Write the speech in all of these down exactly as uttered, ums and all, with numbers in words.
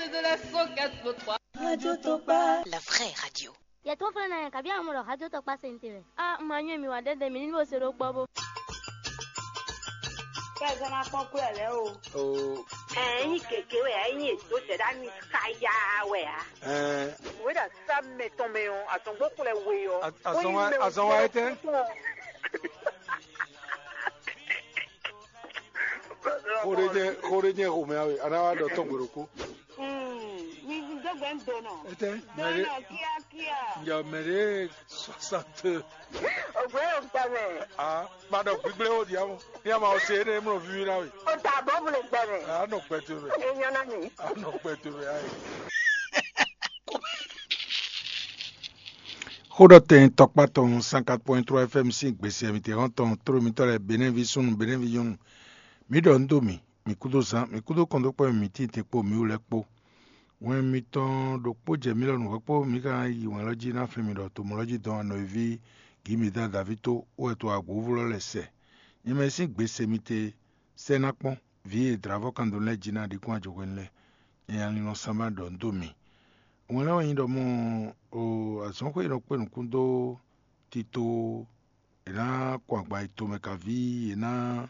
La vraie radio. Yɛ tó flɛ́ ná yɛ kabi amɔ ɖɔ hajó tɔkpá se ntè wɛ. A ma nyɔ mi wa ɖɛɖɛ mi ní bó se ɖó kpɔ bó. Kɛzɔn na kpɔn kú ɛ lɛ o. Ɛ nyi gěgé wɛ ɛ nyi èdó zɛ ɖa mi kaya wɛ a. Wéɖa sá mɛ tɔn mɛ ɔ́, azɔngbó xlɛ we ɔ́. Azɔn wa etɛ́? Xó ɖé jẹ́ xó ɖé jẹ́ xomɛ awe, a ná wá ɖɔ tɔn gbe ɖokpó. Mi dó gbe ń donɔ. Etɛ́? Donɔ kíákíá. Njɛ mɛ ɖé soixante. Ògbé yóò gbà mẹ́. Ah, ma ɖɔ gbígbé ó di amɔ. Ní a ma ɔ se énɛ́ mlɔ víví ná we. O ta bɔ mu le gbà mẹ́. A nɔ gbɛ to mɛ. E nyɔ na mi. A nɔ gbɛ to mɛ ayi. Xó ɖɔ tɛn tɔkpá tɔn cent quatre point trois F M sín gbèsè mǐtɛn hɔn tɔn tló mitɔ́ lɛ́ɛ Benɛ́ví súnnu Benɛ́ví nyɔ́nu. Mǐ ɖɔ nǔ dó mì, mǐ kúdó zán, mǐ kúdó kɔn dó kpɔ́n mì títí te kpó mǐ wú lɛ́ɛ kpó. Wɛn mitɔn ɖokpó jɛ mǐ lɔ nǔ hwɛ̌ kpó mǐ ka yi wɛn lɔ jí ná flín mì ɖɔ tomɔ lɔ jí dɔn anɔ̌ví Gǐmida Daví tó wɛ to agbǔvú lɔ lɛ́ sɛ. Nyɛ mɛ sín gbe se mi te sɛ́ ná kpɔ́n, vǐ e dlǎvɔ́ kan dó lɛ́ɛ jí ná ɖi kún ajo hwenu lɛ́ɛ. Nyɛ nya linlɔn sán ma ɖɔ nǔ dó mi. Wɛn lɛ́ɛ wɛ nyí ɖɔ mɔ o azɔ̌xwé e nɔ kpé nǔkún dó tito, è nǎ kɔn agban yi tomɛ kaví, è nǎ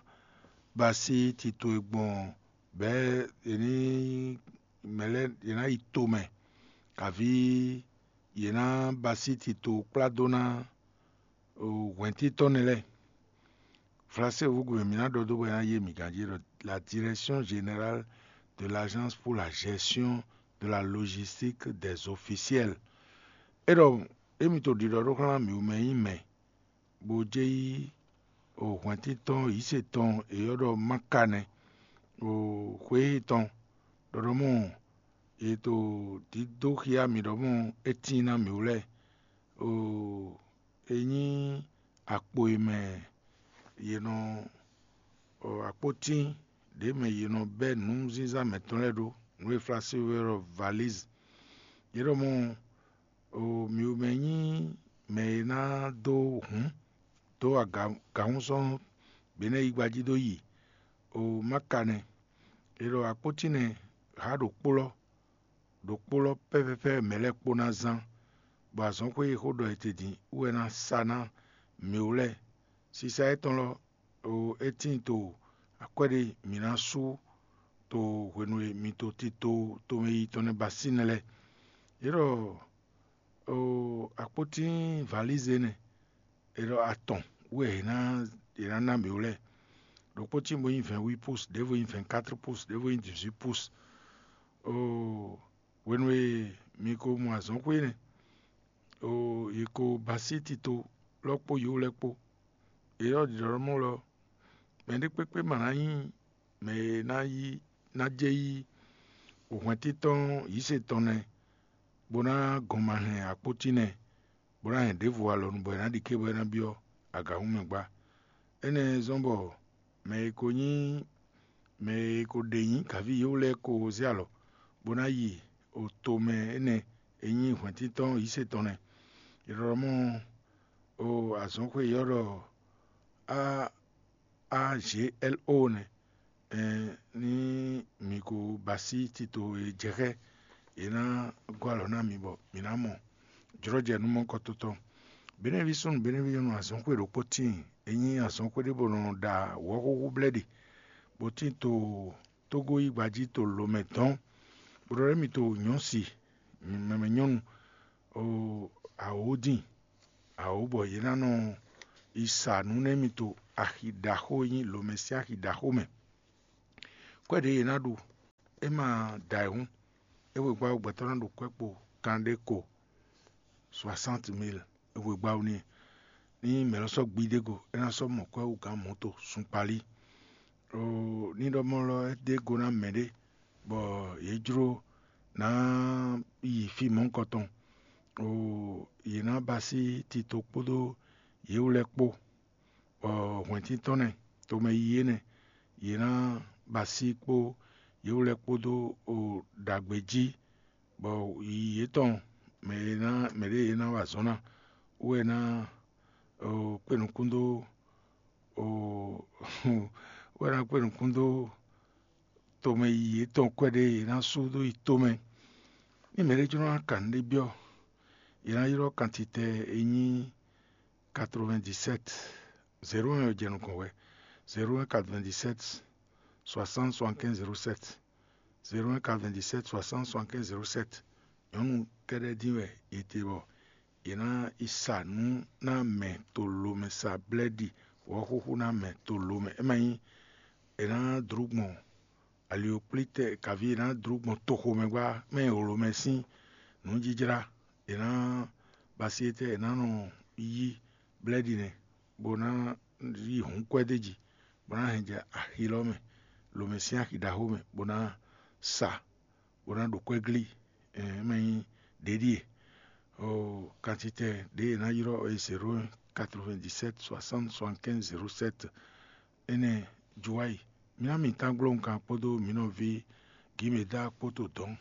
ba sí tito e gbɔn bɛ̌ è ní mɛ lɛ́ɛ è nǎ yi tomɛ kaví, yě ná ba sí tito kplá dó ná hwɛ̌ntíntɔ́nnɛ lɛ́ɛ. Flaséwúgbe mǐ ná ɖɔ dó bɔ é ná yé mǐ ganjí ɖɔ la Direction Générale de l'Agence pour la Gestion de la Logistique des Officiels. É ɖɔ émi to ɖiɖɔ ɖó xlán mǐ wú mɛ nyí mɛ, bó jɛ yí hwɛ̌ntíntɔ́n yǐsetɔn è ylɔ́ ɖɔ Mákanɛ, xwé tɔn ɖɔɖɔmɔ è to dídó xyá mǐ ɖɔmɔ é tíin ná mǐ wú lɛ́ɛ. É nyí akpo e mɛ yě nɔ akpótín ɖě mɛ yě nɔ bɛ́ nǔzínzán mɛ̌tɔn lɛ́ɛ ɖó, nǔ e Flasu wɛ ɖɔ valízi. Yě ɖɔ mɔ mǐ mɛ nyí mɛ e ná dó hǔn dó agǎhúnsɔ́n Benɛ́ yigba jí dó yi Mákanɛ. È ɖɔ akpótín nɛ́ há ɖo kplɔ́ ɖo kplɔ́ pɛ́pɛ́pɛ́ mɛ lɛ́ɛ kpó ná zán, bɔ azɔ̌xwé e xó ɖɔ etedin wú wɛ ná sa ná mǐ wú lɛ́ɛ. Sisa étɔn lɔ, é tíin to akwɛ́ ɖé mǐ ná sú to hwenu e mi to tito tomɛ yi tɔn nɛ́ ba sínɛ lɛ́ɛ. Yě ɖɔ akpótín valízi énɛ́, è ɖɔ atɔn wú wɛ è nǎ è nǎ ná mǐ wú lɛ́ɛ. Ɖokpó tíin bó nyí vɛ̌nwí pus, ɖěvo nyí vɛ̌nkátri pus, ɖěvo nyí dǐzwí pus. Oo, hwenu e mi ko mɔ azɔ̌xwé énɛ́, oo, yě ko ba sí tito lɔ kpó yǒ lɛ́ɛ kpó. Yě ɖɔ ɖiɖɔmɔ lɔ, mɛɖé kpékpé ma ná nyí mɛ e ná yí ná jɛ yí hwɛ̌ntíntɔ́n yǐsetɔn nɛ́, bó ná gɔn ma hɛn akpótín nɛ́, bó ná hɛn ɖěvo alɔ nu bɔ è nǎ ɖi ké bɔ é ná byɔ́ agǎhún mɛ gbá. Énɛ́ zɔ́n bɔ mɛ e ko nyí mɛ e ko ɖe nyǐ gǎví yěwú lɛ́ɛ ko zé alɔ, bó ná yi oto mɛ énɛ́ e nyí hwɛ̌ntíntɔ́n yǐsetɔn nɛ́. È ɖɔ mɔ o azɔ̌xwé e ylɔ́ ɖɔ a a g l o nɛ́. Ɛn ní mi ko ba sí tito e jɛ xá, è nǎ gɔ́ alɔ ná mi bɔ mǐ ná mɔ jlɔ́jɛ nú mɔ̌kɔtɔn tɔn. Benɛ́ví súnnu Benɛ́ví nyɔ́nu azɔ̌xwé ɖokpó tíin, é nyí azɔ̌xwé ɖé bó nɔ ɖa wɔ̌xúxú blɛ́ ɖe, bó tíin to Tógó yí gba jí to lǒ mɛ dɔ̌n, bó ɖɔ émí to nyɔ̌si mɛmɛ nyɔ́nu awǒ dín awǒ bɔ yě ná nɔ yi sa nǔ nú émí to axi ɖaxó e nyí lǒmɛ sín axi ɖaxó mɛ. Kwɛ́ ɖě yě ná ɖu, é ma da ayǐ hǔn, é hwe gbá gbɛtɔ́ ná ɖu kwɛ́ kpo kanɖé ko soixante mille é hwe gbá wú n'i. Ní mɛ lɔ sɔ́ gbi ɖé go, é ná sɔ́ mɔ kwɛ́ wú gǎn mɔ̌to sunkpalí. Ní ɖɔ mɔ lɔ é ɖe go ná mɛɖé bɔ yě jló ná yi fí mɔ̌hunkɔtɔn. Yě ná ba sí tito kpódó yě wú lɛ́ɛ kpó, bɔ hwɛ̌ntíntɔ́nnɛ tomɛ yiyi énɛ́, yě ná ba sí kpó yě wú lɛ́ɛ kpódó ɖagbe jí, bɔ yiyi yětɔn mɛ e ná mɛɖé e ná wa azɔ̌ ná wú wɛ ná kpé nukún dó wɛ ná kpé nukún dó tomɛ yiyi yětɔn kwɛ́ ɖé è nǎ sú dó yi tomɛ. Ní mɛɖé jló ná kan nǔɖé byɔ́, è nǎ ylɔ́ kantitɛ e nyí quatre-vingt-dix-sept, zéro un ɔ́ jɛ nukɔn wɛ, zéro un quatre-vingt-dix-sept soixante soixante-quinze zéro sept, zéro un quatre-vingt-dix-sept soixante soixante-quinze zéro sept. Nyɔ̌nu kɛ́ɖɛ́ dín wɛ è te bɔ è nǎ yi sa nǔ ná mɛ to lo mɛ, sa blɛ́ɖi wɔ̌xúxú ná mɛ to lo mɛ. É ma nyí è nǎ dlú gbɔn ali e kplí tɛ kaví è nǎ dlú gbɔn toxo mɛ gbá mɛ e wlǒ mɛ sín nǔjijlá. È nǎ ba sí étɛ́ è nǎ nɔ yí blɛ́ɖi nɛ́, bó ná yí hǔnkwɛ́ d'é jí, bó ná hɛn jɛ axi lɔ mɛ, lǒ mɛ sín axi ɖaxó mɛ, bó ná sa, bó ná ɖo kwɛ́ glí. Ɛn, é ma nyí ɖě ɖíe. Oo, kantitɛ ɖě è nǎ ylɔ́ é zéro un quatre-vingt-dix-sept soixante soixante-quinze zéro sept. Énɛ́ Juwayi, mǐ ná mǐtán gbló nǔkan kpódó mǐ nɔví Gǐmedá kpó to dɔ̌n.